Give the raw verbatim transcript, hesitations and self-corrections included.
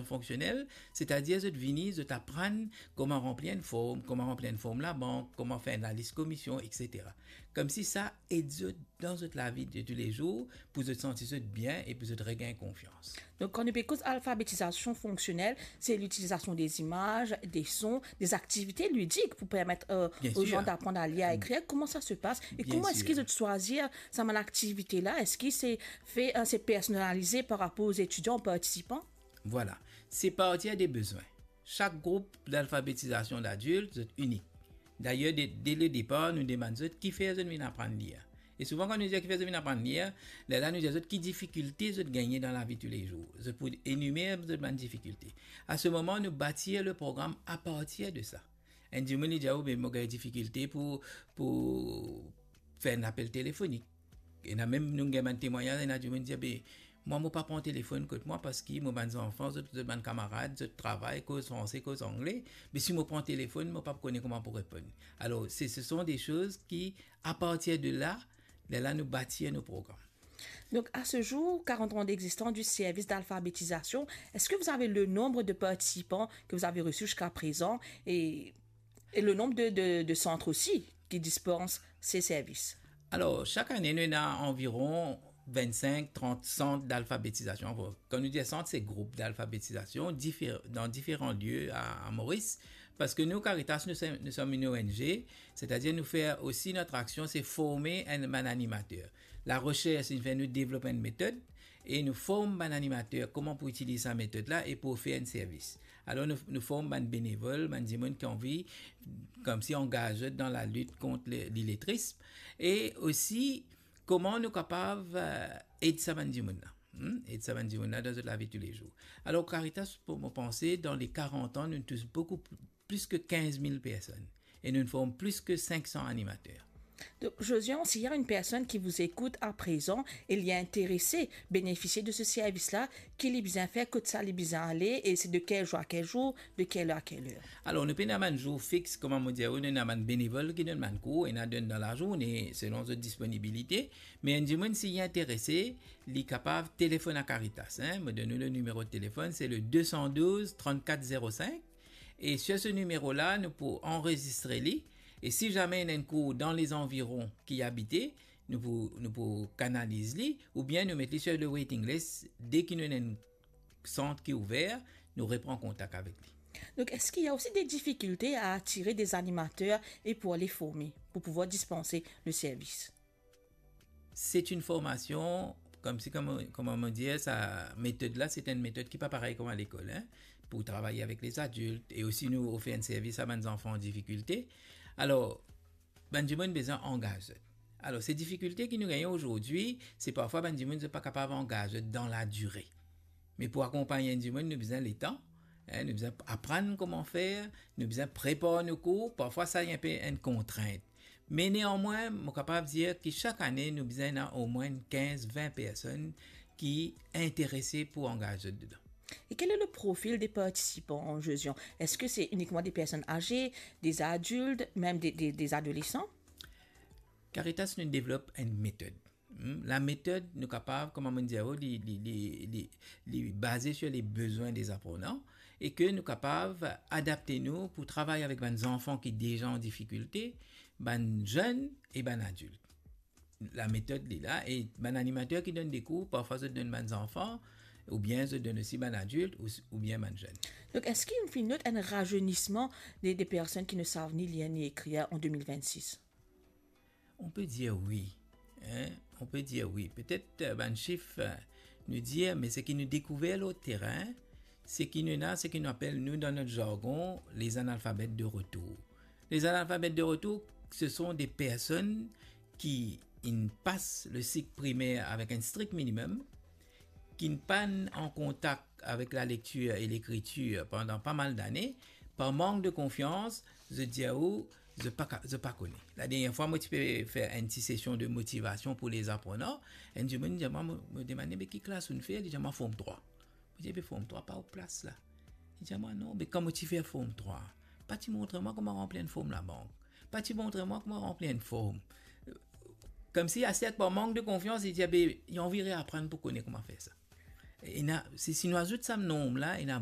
fonksionel, setadir zot vini, zot aprann kouma ranpli enn form, kouma ranpli enn form labank, kouma fer enn lalis komision, etsetera. Koumsi sa ed zot dan zot lavi de toulezour, pou zot santi zot bien e pou zot regagn konfians. Donk, kan nou pe koz alfabetizasion fonksionel, se litilizasion de zimaz, de son, de aktivite lidik pou permet, euh, Bien aux gens sir. d'apprendre à lire, à écrire. Kouma sa se pas? E Bien kouma eski sir. zot swazir sa bann aktivite la? Eski se fer, euh, se personalize par rapor aux étudiants participants? Vwala. Se partir de bezwin. Sak group dalfabetizasion ladilt, zot inik. Dayer, de, de le depar, nou demann zot kifer zot vinn aprann lir. E souvan, kan nou dir kifer zot vinn aprann lir, lerla nou dir zot ki difikilte zot gagne dan lavi toulezour. Zot pou enimer zot bann difikilte. A se moman, nou batir le program apartir de sa. Enn dimoun, li dir, "O, be, mo gagn difikilte pou, pou fer enn apel telefonik." Ena mem, nou gagn bann temwagnaz, ena dimoun dir, "Be, mwa, mo pa pran telefonn kot mwa, parski mo bann zanfan, zot, zot bann kamarad, zot travay, koz franse, koz angle. Be si mo pran telefonn, mo pa kone kouma pou reponn." Alor, se, ce sont des choses qui, à partir de là, lerla nou batir nou program. Donc, à ce jour, quarante ans d'existence du service d'alphabétisation, est-ce que vous avez le nombre de participants que vous avez reçus jusqu'à présent et, et le nombre de, de, de centres aussi qui dispensent ces services? Alor, sak ane, nou ena anviron vinn-sink, trant sant dalfabetizasion. Kan nou dir sant, se group dalfabetizasion difer-, dan diferan lie a, a Moris. Parski nou, Caritas, nou se-, nous sommes une O N G, setadir nou fer osi, notre action, c'est former un, un animateur. Laresers, inn fer nou devlop enn metod e nou form bann animater kouma pou itiliz sa metod la e pou ofer enn servis. Alor, nou, nou form bann benevol, bann dimoun ki anvi, koumsi, angaz zot dan lalit kont le, liletrism, e osi kouma nou kapav, eh, ed sa bann dimoun la. Hmm? Ed sa bann dimoun la dan zot lavi toulezour. Alor, Caritas, pou mo panse, dan le karant an, nou tous boukou pl-, plis ki kinz mil personn. E nou form plis ki sink san animater. Donc, Josian, s'il y a une personne qui vous écoute à présent et li est intéressée bénéficier de ce service-là, ki li bizin fer, kot sa li bizin ale, e se de quel jour à quel jour, de quelle heure à quelle heure? Alor, nou pena bann zour fix, kouma mo dir, nou ena bann benevol ki donn bann kour, ena donn dan lazourne, selon zot disponibilite. Me enn dimoun, si li interese, li kapav telefonn a Caritas, hein. Mo donn ou le nimero de telefonn, se le deux cent douze trente-quatre zéro cinq. E sir se nimero la, nou pou anrezistre li. E si zame ena enn kour dan lezanviron ki abite, nou pou, nou pou kanaliz li, oubien nou met li sir le waiting list. Deki nou ena enn sant ki ouver, nou repran kontak avek li. Donc, est-ce qu'il y a aussi des difficultés à attirer des animateurs et pour les former, pour pouvoir dispenser le service? C'est une formation, koumsi, kouma, kouma mo dir, sa metod la, se enn metod ki pa parey kouma lekol, hein, pou travay avek lezadilt, e osi nou ofer enn servis a bann zanfan an difikilte. Alor, bann dimoun bizin angaz zot. Alor, se difikilte ki nou gagne azordi, se parfwa bann dimoun, zot pa kapav angaz zot dan ladire. Me pou akonpagn enn dimoun, nou bizin letan, hein, nou bizin aprann kouma fer, nou bizin prepar nou kour, parfwa sa enn pe enn kontrint. Me neanmwin, mo kapav dir ki sak ane, nou bizin ena omwin kinz, vin personn ki interese pou angaz zot dedan. Et quel est le profil des participants, Josian? Est-ce que c'est uniquement des personnes âgées, des adultes, même des, des, des adolescents? Caritas, nou devlop enn metod. Hmm, lametod, nou kapav, kouma mo dir, li, li, li, li, li baze sir le bezwin de zaprenan, e ke nou kapav adapte nou pou travay avek bann zanfan ki deza an difikilte, bann zenn e bann adilt. Lametod li la, e bann animater ki donn de kour, parfwa zot donn bann zanfan, oubien zot donn osi bann adilt, ou, oubien bann zenn. Donc, est-ce qu'il y a une note, un rajeunissement des, des personnes qui ne savent ni lire ni écrire en deux mille vingt-six? On peut dire oui, hein, on peut dire oui. Petet, euh, bann sif, euh, nou dir, me seki nou dekouver lor terin, seki nou ena, seki nou apel, nou, dan not zargon, les analphabètes de retour. Les analphabètes de retour, ce sont des personnes ki inn pas le sik primer avek enn strik minimem, ki inn pa an kontak avek lalektir e lekritir pandan pa mal dane, par mank de konfians, zot dir ou, zot pa ka-, zot pa kone. Ladernie fwa, mo ti pe fer enn ti sesion de motivasion pou lezaprenan, enn dimoun dir mwa, mo, mo demann li, "Be ki klas ou'nn fer?" Li dir mwa, "Form trwa." Mo dir, "Be Form trwa pa ou plas la." Li dir mwa, "Non, be kan mo ti fer Form trwa, pa ti montre mwa kouma ranpli enn form labank. Pa ti montre mwa kouma ranpli enn form." Koumsi, aster par mank de konfians, li dir, "Be, li anvi reaprann pou kone kouma fer sa." Ena, si, si nou azout sa nonb la, ena